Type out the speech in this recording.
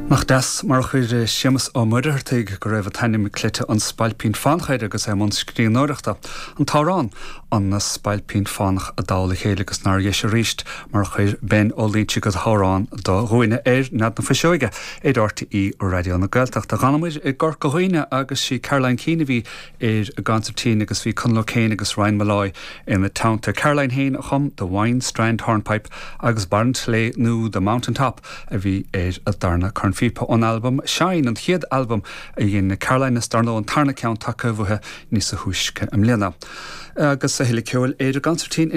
Nach deas mar a chuir Séamus Ó Muircheartaigh, go raibh an t-ainm cleite An Spailpín Fánach air agus é i mbun scríbhneoireachta, an t-amhrán An Spailpín Fánach i dtoll a chéile agus nár dheis arís mar a chuir Ben Ó Loingsigh an t-amhrán do dhuine ar Nead na Fuiseoige ar RTÉ Raidió na Gaeltachta. D'fhanamair i gCorca Dhuibhne agus sí Caroline Keane a bhí ar an gconsairtín agus bhí Conall O'Kane agus Ryan Molloy ina teannta. Caroline féin a chum The Wine Strand Hornpipe agus Barr an tSléibhe nó The Mountain Top a bhí ar a darna cornphíopa ón albam Shine, an chéad albam a dhein Caroline is dar ndóigh an tarna ceann tagtha uaithi níosa thúisce i mbliana. Agus a thuilleadh ceoil ar an gconsairtín.